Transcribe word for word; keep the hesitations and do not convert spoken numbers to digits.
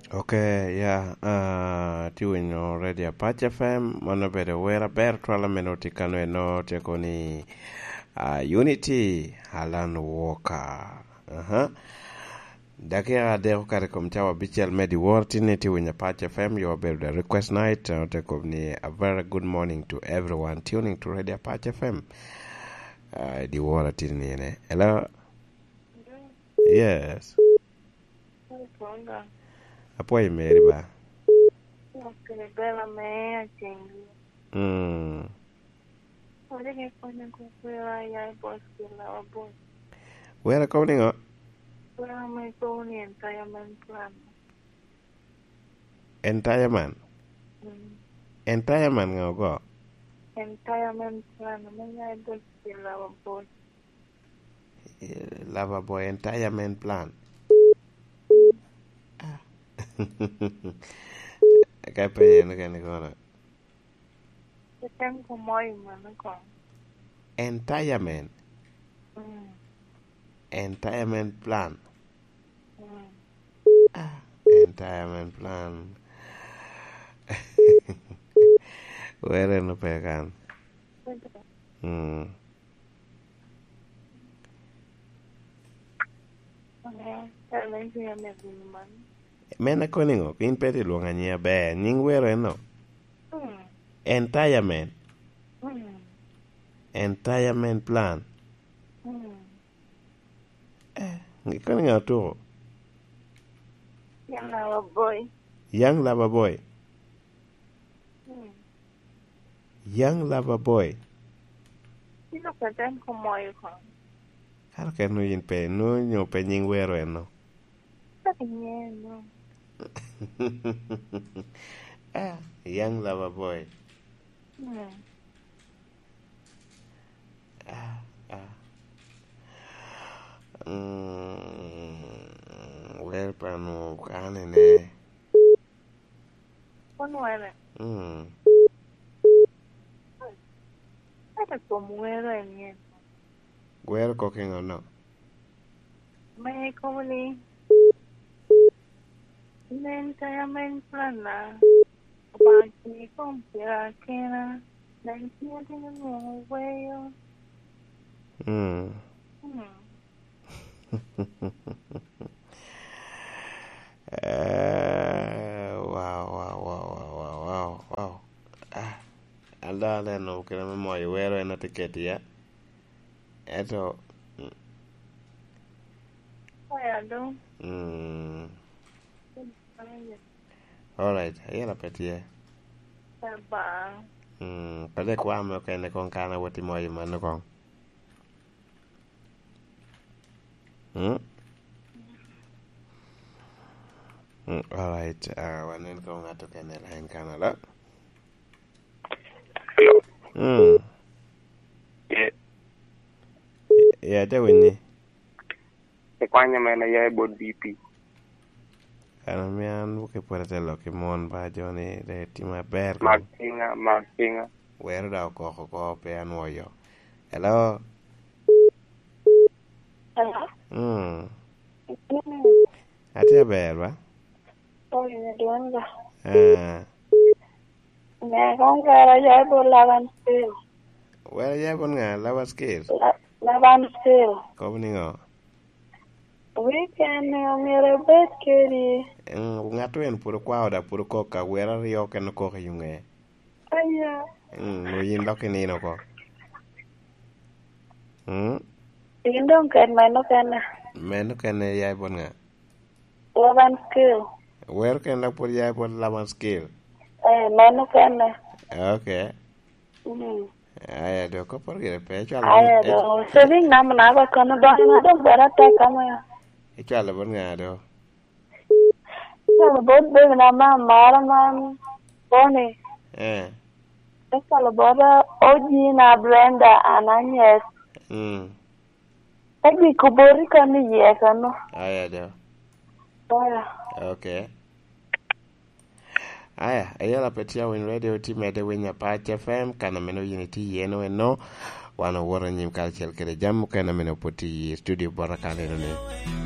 Ok, ya, ah, tye winyo Radio Apac F M, mano obedo wer aber twal ame nwoŋo tye kano eno, tye kono ni, ah, Unity Alan Walker. Aha. Dakika adek okato i kom cawa abicel me dyewor, tin ni tye winyo Apac F M, yo obedo the request night, ah, te kobo ni a very good morning to everyone tuning to Radio Apac F M. Ah, dyewor atin ni ene. Hello? Yes. Hey, Tonga. Apwoyo meri ba. Ok, bela me acengi. Mm. Wadi ke konya ko kwera ya i boss kila wa boss. Wera kobo niŋo? Wera me kobo ni entire man plan. Entire man? Mm. Entire man ŋa ogo? Entire man plan me ya i boss kila wa boss. Eh, Lover Boy entire man plan. Ah. Ka penye en kene kono. Etem kumoyo mano kono. Entire man. Mm. Entire man plan. Mm. Ah, entire man plan. Were no pe kan. Mm. Men akoni ŋo? In pe ti lwongo anyiŋ aber. Nyiŋ wero en no? Mm. Entire man. Mm. Entire man plan. Mm. Eh, ikoni ŋa otuko? Young Lover Boy. Young Lover Boy. Mm. Young Lover Boy. Ilo ka tem ko moyo ko. Kara ken no in pe, no nyo pe nyiŋ wero en no. Ka nyiŋ no. Ah, Young Lover Boy. Mm. Ah, ah. Mm, wer pa nwo kane ne. Kun were. Mm. Ata kom wero en yen. Gwero kok i ŋo no? Me kobo ni, nen tayo men plan na, Obaŋa tye i kom pira kena, nen tye atino nwoŋo weyo. Mm. Mm. Eh, wow, wow, wow. Ah, an dok aneno kite me moyo wero en atye keti ya. Ento, mm. Oya do. Mm. Oya. Alright, ayela pe tye. Baba. Mm, pwod ikwa me okene kong kan awot i moyo mano kong. Mm? Mm, alright, ah, wanen kong ŋat okene i line kan alo. Hello. Mm. Yeah. Yeah, ate winyi. Ikwanya men aya i bot D P. Kan omio an buke pwod ate lok i mon ba joni, de timo aber. Mak pinga, mak pinga. Wero da okoko oko, pe anwoyo. Hello? Hello? Mm. Mm. Atye aber ba? Oh, yeah, doing well. Ah. Ne, kong wera ya i bot Laban Skill. Wera ya i bot ŋa? Laban Skill? La-, Laban Skill. Kobo niŋo? Weekend ni omyero ibed kedi. Mm, ŋat en pwod okwao da, pwod okok ka wera aryo kene okok i ŋe. Aya. Mm, nwo yin dok inino oko. Mm? In dong ket meno kene. Meno kene ya i bot ŋa? Laban Skill. Wero kene dok pwod ya i bot Laban Skill? Eh, meno kene. Ok. Mm. Aya, do, kopporo gire pe, icwalo. Aya, bot, do, ic-, saving number na ba kono dong, na dong bera tek kama. Icwalo bot ŋa do? Icwalo bot baby na ma amaro man, Bonnie. Eh. Icwalo bot, uh, O G na Brenda Ananyes. Mm. Agiko boti kano iye kano. Aya, do. Aya. Ok. Aya, ayela pe tye awiny radio, tye medde winyo Apac F M, kan ameno yin itye iye no eno, wan owoto anyim karacel kede jami mukene ameno pwod tye i studio bota kan eno ni.